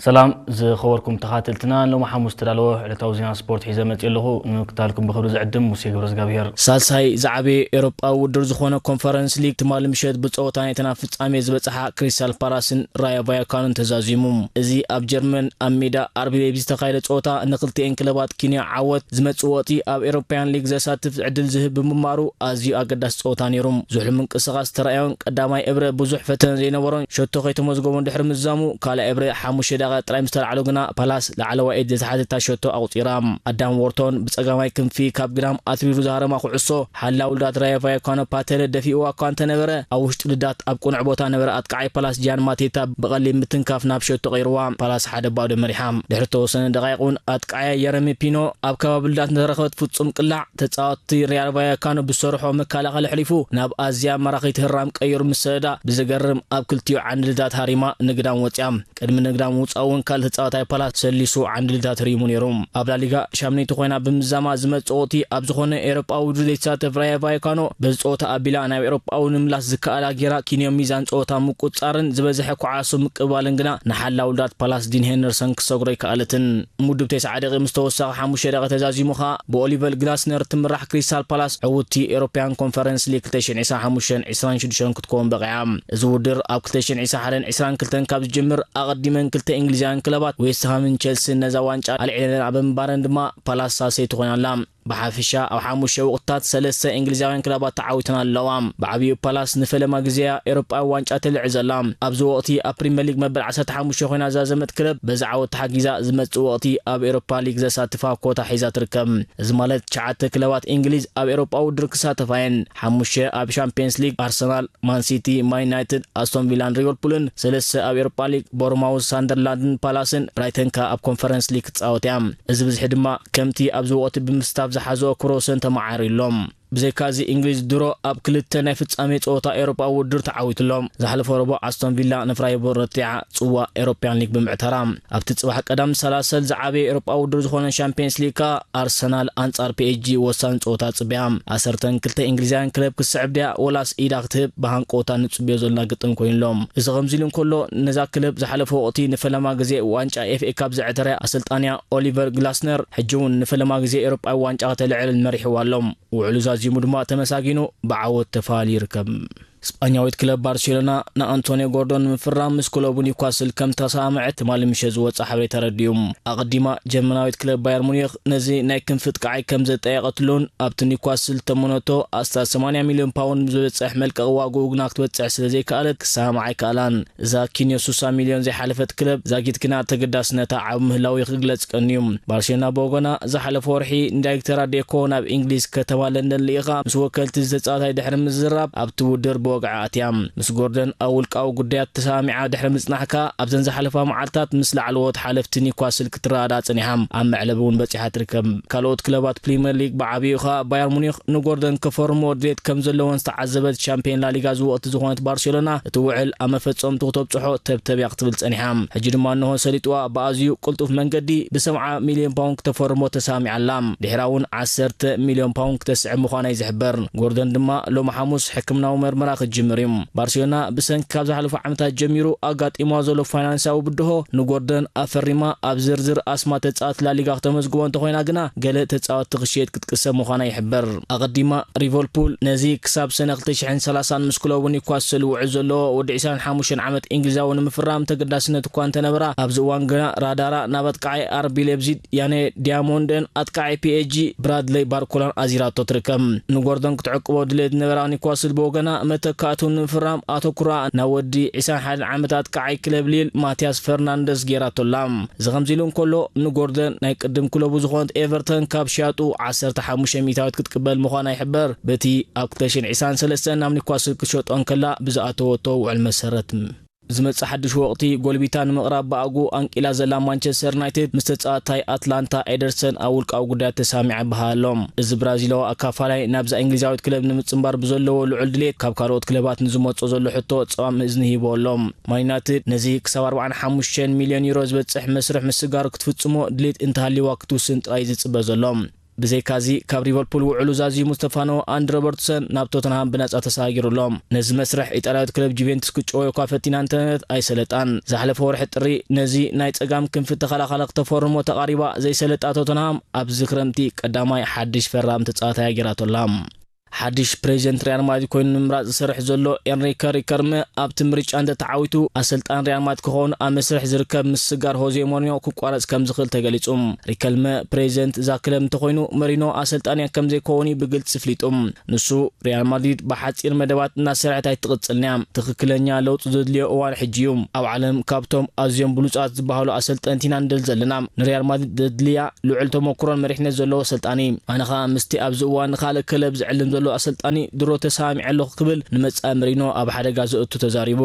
ሰላም ዝኸበርኩም ተኻተልትና፣ ሎሚ ሓሙስ ዝተዳለወ ዕለታዊ ዜና ስፖርት ሒዘ መፅእ ኣለኹ። ንምክታልኩም ብኽብሪ ዝዕድም ሙሴ ገብረ እግዚኣብሔር። ሳልሳይ ዝዓበየ ኤሮጳዊ ውድድር ዝኾነ ኮንፈረንስ ሊግ ትማሊ ምሸት ብፀወታ ናይተን ኣብ ፍጻሜ ዝበፅሓ ክሪስታል ፓላስን ራዮ ቫያካኖን ተዛዚሙ። እዚ ኣብ ጀርመን ኣብ ሜዳ ኣርቢ ሌይፕዚግ ዝተኻየደ ፀወታ ንክልቲኤን ክለባት ኪንዮ ዓወት ዝመፅእ ወቕቲ ኣብ ኤሮፓያን ሊግ ዘሳትፍ ዕድል ዝህብ ብምንባሩ ኣዝዩ ኣገዳሲ ፀወታ ነይሩ። ዝሑል ምንቅስቓስ ዝተረኣዮን ቀዳማይ እብረ ብዙሕ ፈተነ ዘይነበሮን ሸቶ ከይተመዝገቦን ድሕሪ ምዛሙ ካልኣይ እብረ ሓሙሽተ ደቂቃ ጥራይ ምስ ተላዕሎ ግና ፓላስ ላዕለዋይ ኢድ ዝተሓተታ ሸቶ ኣቑፂራ። ኣዳም ዎርቶን ብፀጋማይ ክንፊ ካብ ግዳም ኣትሪሩ ዝሃረማ ኩዕሶ ሓላው ልዳት ራዮ ቫያካኖ ፓተለ ደፊእዋ እኳ እንተነበረ ኣብ ውሽጢ ልዳት ኣብ ቅኑዕ ቦታ ነበረ ኣጥቃዓይ ፓላስ ጃን ማቴታ ብቐሊል ምትንካፍ ናብ ሸቶ ቀይርዋ። ፓላስ ሓደ ባዶ መሪሓ። ድሕሪ ተወሰነ ደቃይቕ እውን ኣጥቃዓያ የረሚ ፒኖ ኣብ ከባቢ ልዳት ንተረኸበት ፍጹም ቅላዕ ተጻወትቲ ሪያል ቫያካኖ ብዝሰርሖ መከላኸሊ ኣሕሊፉ ናብ ኣዝያ ማራኺት ህራም ቀይሩ ምስ ሰደዳ ብዘገርም ኣብ ክልቲኡ ዓንዲ ልዳት ሃሪማ ንግዳም ወጽያ። ቅድሚ ንግዳም ምውጻእ እውን ካልእ ተጻዋታይ ፓላስ ሰሊሱ ዓንዲ ልዳት ሪሙ ነይሩ። ኣብ ላሊጋ ሻምነይቲ ኮይና ብምዛማ ዝመጽእ ወቕቲ ኣብ ዝኾነ ኤውሮጳዊ ውድድር ዘይትሳተፍ ራዮ ቫያካኖ በዚ ጸወታ ኣቢላ ናብ ኤውሮጳዊ ንምላስ ዝከኣላ ጌራ ኪንዮ ሚዛን ጸወታ ምቁጽጻርን ዝበዝሐ ኩዓሶ ምቅባልን ግና ንሓላው ልዳት ፓላስ ዲን ሄንደርሰን ክሰግሮ ኣይከኣለትን። ምውድብ ተስዓ ደቂቕ ምስ ተወሳኺ ሓሙሽተ ደቂቕ ተዛዚሙ ኸኣ ብኦሊቨር ግላስነር ትምራሕ ክሪስታል ፓላስ ዕውትቲ ኤውሮፓያን ኮንፈረንስ ሊግ ክልተ ሽሕን ዕስራን ሓሙሽተን ዕስራን ሽዱሽተን ክትከውን በቒዓ። እዚ ውድድር ኣብ ክልተ ሽሕን ዕስራን ሓደን ዕስራን ክልተን ካብ ዝጅምር ኣቐዲመን ክልተ እንግሊዛውያን ክለባት ዌስትሃምን ቸልሲን ነዛ ዋንጫ ኣልዒለንኣ ብምንባረን ድማ ፓላስ ሳልሰይቲ ኮይና ኣላ። ብሓፈሻ ኣብ ሓሙሽተ ወቕትታት ሰለስተ እንግሊዛውያን ክለባት ተዓዊተን ኣለዋ። ብዓብዩ ፓላስ ንፈለማ ግዜያ ኤውሮጳዊ ዋንጫ ተልዕል ዘላ። ኣብዚ ወቕቲ ኣብ ፕሪምየር ሊግ መበል ዓሰርተ ሓሙሽተ ኮይና ዝዛዘመት ክለብ በዚ ዓወት ተሓጊዛ ዝመጽእ ወቕቲ ኣብ ኤውሮፓ ሊግ ዘሳትፋ ኮታ ሒዛ ትርከብ። እዚ ማለት ትሽዓተ ክለባት እንግሊዝ ኣብ ኤውሮጳዊ ውድድር ክሳተፋ እየን። ሓሙሽተ ኣብ ሻምፒየንስ ሊግ ኣርሰናል፣ ማን ሲቲ፣ ማን ዩናይትድ፣ ኣስቶን ቪላን ሊቨርፑልን፣ ሰለስተ ኣብ ኤውሮጳ ሊግ ቦርማውዝ፣ ሳንደርላንድን ፓላስን፣ ብራይተን ከኣ ኣብ ኮንፈረንስ ሊግ ክትጻወት እያ። እዚ ብዝሒ ድማ ከምቲ ኣብዚ ወቕቲ ብምስታፍ ዝሓዘኦ ክብረ ወሰን ተመዓሪሎም። ብዘይካዚ እንግሊዝ ድሮ ኣብ ክልተ ናይ ፍጻሜ ጸወታ ኤውሮጳዊ ውድድር ተዓዊትሎም። ዝሓለፈ ረቡዕ ኣስቶን ቪላ ንፍራይቡር ረቲዓ ጽዋእ ኤውሮፕያን ሊግ ብምዕታራ። ኣብቲ ጽባሕ ቀዳም ዝሰላሰል ዝዓበየ ኤውሮጳዊ ውድድር ዝኾነ ሻምፒየንስ ሊግ ከኣ ኣርሰናል ኣንጻር ፒኤስጂ ወሳኒ ጸወታ ጽብያ። ዓሰርተን ክልተ እንግሊዛውያን ክለብ ክትስዕብ ድያ ወላስ ኢዳ ክትህብ ብሃንቀውታ ንጽብዮ ዘለና ግጥም ኮይኑ ኣሎ። እዚ ከምዚ ኢሉ እንከሎ ነዛ ክለብ ዝሓለፈ ወቕቲ ንፈለማ ግዜ ዋንጫ ኤፍኤ ካፕ ዘዕተረ ኣሰልጣንያ ኦሊቨር ግላስነር ሕጂ እውን ንፈለማ ግዜ ኤውሮጳዊ ዋንጫ ከተልዕል መሪሕዋ ኣሎ። ውዕሉ ዛዚሙ ድማ ተመሳጊኑ ብዓወት ተፋልዩ ይርከብ። ስጳኛዊት ክለብ ባርሴሎና ንኣንቶኒዮ ጎርዶን ንምፍራም ምስ ክለቡ ኒውካስል ከም ተሰማምዐት ትማሊ ምሸት ዝወጸ ሓበሬታ ኣረዲኡ። ኣቐዲማ ጀርመናዊት ክለብ ባየር ሙኒክ ነዚ ናይ ክንፊ ኣጥቃዓይ ከም ዘጠየቐትሉን ኣብቲ ኒውካስል ተመነቶ ኣስታት ሰማንያ ሚልዮን ፓውንድ ዝበጽሕ መልቀቒ ዋግኡ ግና ክትበጽሕ ስለ ዘይከኣለት ክሰማምዓ ኣይከኣላን። እዛ ኪንዮ ስሳ ሚልዮን ዘይሓለፈት ክለብ ዛጊት ግና ተገዳስነታ ዓቢ ምህላው ክግለጽ ቀንዩ። ባርሴሎና ብወገና ዝሓለፈ ወርሒ ንዳይሬክተራ ዴኮ ናብ እንግሊዝ ከተማ ለንደን ልኢኻ ምስ ወከልቲ ዝተጻወታይ ድሕሪ ምዝራብ ኣብቲ ውድድር ብወግዒ ኣትያ። ምስ ጎርደን ኣብ ውልቃዊ ጉዳያት ተሰማሚዓ ድሕሪ ምጽናሕካ ኣብዘን ዝሓለፋ መዓልታት ምስ ላዕለዎት ሓለፍቲ ኒውካስል ክትረዳዳ ጸኒሓ ኣብ መዕለቢ እውን በጺሓ ትርከብ። ካልኦት ክለባት ፕሪምየር ሊግ ብዓብዩ ኸኣ ባየር ሙኒክ ንጎርደን ከፈርሞ ድሌት ከም ዘለዎን ዝተዓዘበት ሻምፒዮን ላሊጋ ዝወቕቲ ዝኾነት ባርሴሎና እቲ ውዕል ኣብ መፈጸምቱ ክተብጽሖ ተብተብ እያ ክትብል ጸኒሓ። ሕጂ ድማ እንሆ ሰሊጥዋ ብኣዝዩ ቅልጡፍ መንገዲ ብሰብዓ ሚልዮን ፓውንድ ክተፈርሞ ተሳሚዓ ኣላ። ድሕራ እውን ዓሰርተ ሚልዮን ፓውንድ ክተስዕብ ምዃና እዩ ዝሕበር። ጎርደን ድማ ሎሚ ሓሙስ ሕክምናዊ መርመራ ክጅምር እዩ። ባርሴሎና ብሰንኪ ካብ ዝሓለፉ ዓመታት ጀሚሩ ኣጋጢምዋ ዘሎ ፋይናንሳዊ ብድሆ ንጎርደን ኣፈሪማ ኣብ ዝርዝር ኣስማት ተጻወትቲ ላሊጋ ክተመዝግቦ እንተኾይና ግና ገለ ተጻወትቲ ክሽየጥ ክትቅሰብ ምዃና ይሕበር። ኣቐዲማ ሊቨርፑል ነዚ ክሳብ ሰነ ክልተ ሽሕን ሰላሳን ምስ ክለቡ ኒውካስል ውዕል ዘለዎ ወዲ ዕስራን ሓሙሽተን ዓመት እንግሊዛዊ ንምፍራም ተገዳስነት እኳ እንተነበራ ኣብዚ እዋን ግና ራዳራ ናብ ኣጥቃዓይ ኣርቢ ሌብዚድ ያኔ ዲያሞንድን ኣጥቃዓይ ፒኤስጂ ብራድለይ ባርኮላን ኣዚራቶ ትርከብ። ንጎርደን ክትዕቅቦ ድሌት ዝነበራ ኒውካስል ብወገና መተካእትኡ ንምፍራም ኣተኩራ ናብ ወዲ ዕስራን ሓደን ዓመት ኣጥቃዓይ ክለብ ሊል ማቲያስ ፈርናንደስ ጌራቶ ኣላ። እዚ ከምዚ ኢሉ እንከሎ ንጎርደን ናይ ቅድም ክለቡ ዝኾነት ኤቨርተን ካብ ሽያጡ ዓሰርተ ሓሙሽተ ሚእታዊት ክትቅበል ምዃና ይሕበር። በቲ ኣብ ክልተ ሽሕን ዕስራን ሰለስተን ናብ ኒውካስል ክትሸጦ እንከላ ብዝኣተወቶ ውዕል መሰረት። ዝመጽእ ሓድሽ ወቕቲ ጎልቢታ ንምቕራብ ብኣግኡ ኣንቂላ ዘላ ማንቸስተር ዩናይትድ ምስ ተጻዋታይ ኣትላንታ ኤደርሰን ኣብ ውልቃዊ ጉዳያት ተሳሚዓ ይበሃል ኣሎ። እዚ ብራዚላዊ ኣካፋላይ ናብዛ እንግሊዛዊት ክለብ ንምጽንባር ብዘለዎ ልዑል ድሌት ካብ ካልኦት ክለባት ንዝመጾ ዘሎ ሕቶ ጸማም እዝኒ ሂቦ ኣሎ። ማን ዩናይትድ ነዚ ክሳብ ኣርባዓን ሓሙሽተን ሚልዮን ዩሮ ዝበጽሕ መስርሕ ምስጋር ክትፍጽሞ ድሌት እንተሃልይዋ ክትውስን ጥራይ ዝጽበ ዘሎ። ብዘይካዚ፣ ካብ ሊቨርፑል ውዕሉ ዛዚሙ ዝተፋነወ ኣንዲ ሮበርትሰን ናብ ቶተንሃም ብነጻ ተሰጋጊሩ ኣሎ። ነዚ መስርሕ ኢጣልያዊት ክለብ ጁቬንቱስ ክጭወዮ እኳ ፈቲና እንተነበረት ኣይሰለጣን። ዝሓለፈ ወርሒ ጥሪ ነዚ ናይ ጸጋም ክንፊ ተኸላኻሊ ክተፈርሞ ተቓሪባ ዘይሰለጣ ቶተንሃም ኣብዚ ክረምቲ ቀዳማይ ሓድሽ ፈራሚ ተጻዋታይ ኣገይራቶ ኣላ። ሓድሽ ፕሬዚደንት ሪያል ማድሪድ ኮይኑ ንምምራጽ ዝሰርሕ ዘሎ ኤንሪከ ሪከልመ ኣብቲ ምርጫ እንተተዓዊቱ ኣሰልጣን ሪያል ማድሪድ ክኸውን ኣብ መስርሕ ዝርከብ ምስጋር ሆዜ ሞሪኖ ክቋረጽ ከም ዝኽእል ተገሊጹ። ሪከልመ ፕሬዚደንት እዛ ክለብ እንተኾይኑ መሪኖ ኣሰልጣንያ ከም ዘይከውን እዩ ብግልጺ ፍሊጡ። ንሱ ሪያል ማድሪድ ብሓጺር መደባት እናሰርሐት ኣይትቕጽልንያ። ትኽክለኛ ለውጢ ዘድልዮ እዋን ሕጂ እዩ። ኣብ ዓለም ካብቶም ኣዝዮም ብሉጻት ዝበሃሉ ኣሰልጠንቲ ኢና ንደሊ ዘለና። ንሪያል ማድሪድ ዘድልያ ልዑል ተመኩሮን መሪሕነት ዘለዎ ኣሰልጣኒ። ኣነ ኸኣ ምስቲ ኣብዚ እዋን ንኻልእ ክለብ ዝዕልም ዘሎ ኣሰልጣኒ ድሮ ተሰማሚዐ ኣለኹ ክብል ንመጻኢ መሪኖ ኣብ ሓደጋ ዘእቱ ተዛሪቡ።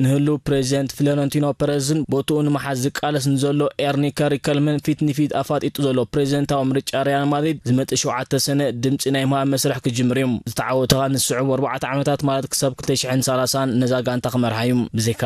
ንህሉው ፕሬዚደንት ፍሎረንቲኖ ፐረዝን ቦትኡ ንምሓዝ ዝቃለስ ንዘሎ ኤርኒከ ሪከልመን ፊት ንፊት ኣፋጢጡ ዘሎ ፕሬዚደንታዊ ምርጫ ሪያል ማድሪድ ዝመጽእ ሸውዓተ ሰነ ድምጺ ናይ ምሃብ መስርሕ ክጅምር እዩ። ዝተዓወተ ኸኣ ንዝስዕቡ ኣርባዕተ ዓመታት ማለት ክሳብ ክልተ ሽሕን ሰላሳን ነዛ ጋንታ ክመርሓ እዩ። ብዘይካ